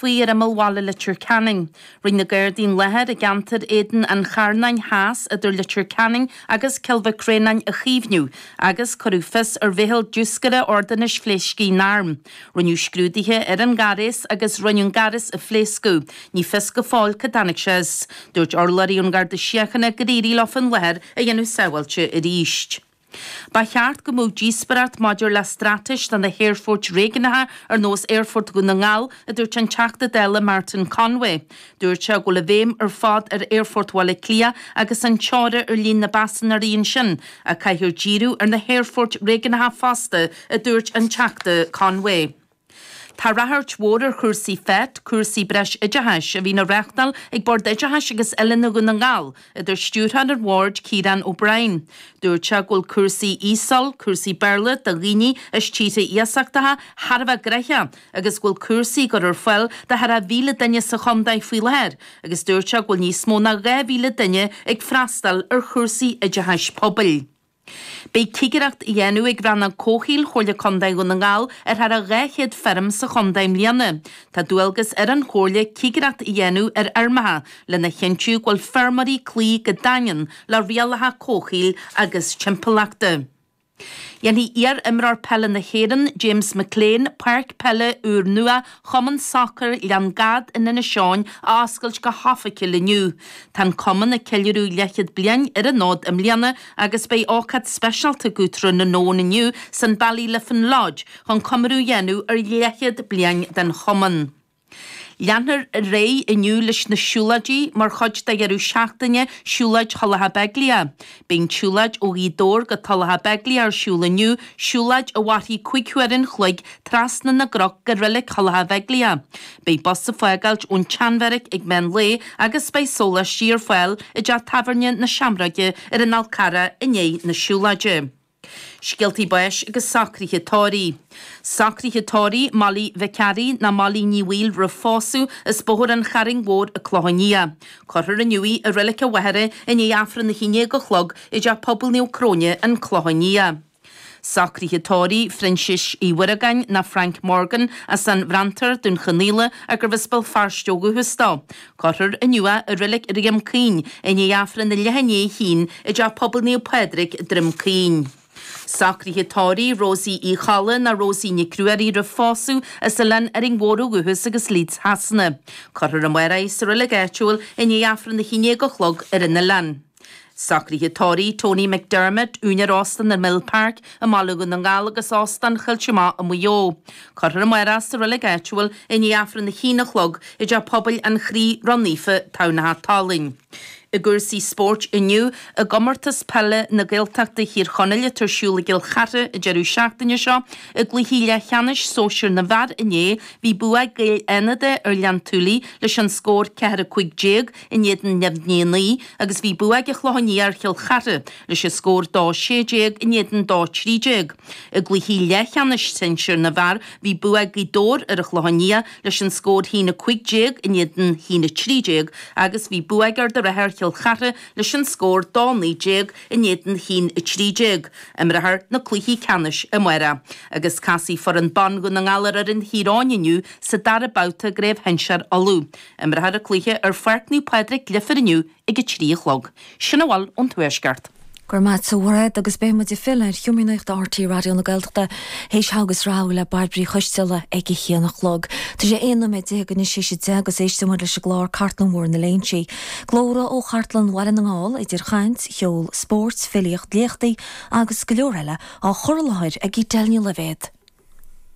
faoi ar imeall bhaile Leitir Ceanainn. Rinne na Gardaí an láthair i gceantar Éadan an Charnáin Theas idir Leitir Ceanainn agus Cill Mhic Réanáin a chaomhnú agus cuireadh fios ar mheitheal diúscaire ordanáis phléasctha na n-arm. Rinneadh scrúduithe ar an ngaireas agus rinneadh an gaireas a phléascadh. Ní fios go fóill cá dtáinig sé as. Dúirt urlabhraí ón nGarda Síochána gur éirigh leo an láthair a dhéanamh sábháilte arís. Ba cheart go mbeadh díospóireacht maidir le straitéis do na haerfoirt réigiúnacha ar nós Aerfort Dhún na nGall, a dúirt an Teachta Dála Martin Conway. Dúirt sé go bhfuil an bhéim ar fad ar Aerfort Bhaile Átha Cliath agus an teora ar líon na bpaisinéirí ansin, ach caithfear díriú ar na haerfoirt réigiúnacha fosta, a dúirt an Teachta Conway. Tá ráchairt mhór ar chúrsaí FET, cúrsaí breis oideachais, a bhíonn á reáchtáil ag Bord Oideachais agus Oiliúna Dhún na nGall, a dúirt Stiúrthóir an Bhoird, Ciarán O'Brien. Dúirt sé go bhfuil cúrsaí ESOL, cúrsaí Béarla do dhaoine as tíortha iasachtacha, thar a bheith gnoitheach agus go bhfuil cúrsaí á gcur ar fáil do thar a 1,000 duine sa chontae faoi láthair agus dúirt sé go bhfuil níos mó ná 2,000 duine ag freastal ar chúrsaí oideachais pobail. Beidh cigireacht á dhéanamh ag Rannóg Comhshaoil Chomhairle Contae Dhún na nGall ar thar a 200 feirm sa chontae i mbliana. Tá dualgas ar an Chomhairle cigireacht a dhéanamh ar fheirmeacha lena chinntiú go bhfuil feirmeoirí ag cloí go daingean le rialacha comhshaoil agus timpeallachta. Dhéanfaidh iar-imreoir peile na hÉireann, James McClean, páirc peile úrnua Chumann Sacair Ghleann Gad in Inis Eoghain a oscailt go hoifigiúil inniu. Tá an cumann ag ceiliúradh leathchéad bliain ar an fhód i mbliana agus beidh ócáid speisialta acu Trá na nÓin inniu san Ballyliffin Lodge chun comóradh a dhéanamh ar leathchéad bliain den chumann. Leanfar ar aghaidh inniu leis na siúlóidí mar chuid de dheireadh seachtaine Siúlóid Thulacha Beaglaoich. Beidh an tsiúlóid ó Ghaoth Dobhair go Tulach Beaglaoich ar siúl inniu, siúlóid a mhairfidh 5 huaire an chloig trasna na gcnoc go Reilig Thulacha Bheaglaoich. Beidh bus ag fágáilt ón tSeanbheairic ag meán lae agus beidh sóláistí ar fáil i dteach tábhairne na Seamróige ar an Fhál Carrach i ndiaidh na siúlóide. Scéaltaí báis agus socruithe tórraimh. Socruithe tórraimh Molly Mhic Fhearraigh ná Molly Ní Bhaoill roimh phósadh as Bóthar an Charraing Mhóir an Clochán Liath. Cuirfear inniu í i Reilig a' Mhachaire i ndiaidh Aifreann 11 a chlog i dTeach Pobail Naomh Cróine, An Clochán Liath. Socruithe tórraimh Phroinsiais Uí Mhuireagáin ná Frank Morgan as an bhFranntar, Dún Chonaill, gurbh as Béal Feirste ó dhúchas dó. Cuirfear inniu é i Reilig Dhroim Caoin i ndiaidh Aifreann a leath i ndiaidh a haon i dTeach Pobail Naomh Pádraig, Droim Caoin. Socruithe tórraimh Rosie Uí Cholla ná Rosie Nic Ruairí roimh phósadh as Oileán Árainn Mhór ó dhúchas agus Leeds Shasana. Cuirfear amárach í sa reilig áitiúil i ndiaidh Aifreann 11 a chlog ar an oileán. Socruithe tórraimh Tony McDermott, úinéir Óstán an Mill Park i mBaile Dhún na nGall agus Óstán Choillte Mach i Maigh Eo. Cuirfear amárach sa reilig áitiúil i ndiaidh Aifreann 1 a chlog i dTeach Pobail an Chroí Ró-Naofa, Tamhnach Talainn. I gcúrsaí spóirt inniu, i gComórtas Peile na Gaeltachta Thír Chonaill atá ar siúl i gCill Chartha an deireadh seachtaine seo, i gcluichí leathcheannais sóisir na bhfear inné, bhí bua ag Gaeil Fhánada ar Ghleann tSúilí leis an scór 4 15 in éadan neamhní 9 agus bhí bua ag an Chlochán Liath ar Chill Chartha leis an scór 2 16 in éadan 2 13. I gcluichí leathcheannais sinsir na bhfear bhí bua ag Gaoth Dobhair ar an Chlochán Liath leis an scór 1 15 in éadan 1 13 agus bhí bua ag Ard an Rátha ar Chill Chartha leis an scór 2 19 in éadan 1 13. Imreofar na cluichí ceannais amárach agus casfaidh foireann ban Dhún na nGall ar fhoireann Thír Eoghain inniu sa dara babhta i gCraobh Shinsear Uladh. Imreofar an cluiche ar Pháirc Naomh Pádraig, Leifear inniu ag a 3 a chlog. Sin a bhfuil ón Tuaisceart. Go raibh maith agat a Mhairéad agus beidh muid ag filleadh ar Sheomra Nuachta RTÉ Raidió na Gaeltachta théis Togha agus Rogha le Bairbre Uí Choisteala ag a haon a chlog. Tá sé 11 nóiméad anois théis a 10 agus éistfidh muid leis an gclár Cartlann Mhór na Léinsí. Glórtha ó Chartlann Bhaile na nGall idir chaint, cheol, spóirt, filíocht, léachtaí agus go leor eile á chur i láthair ag Edel Ní Loibhéad.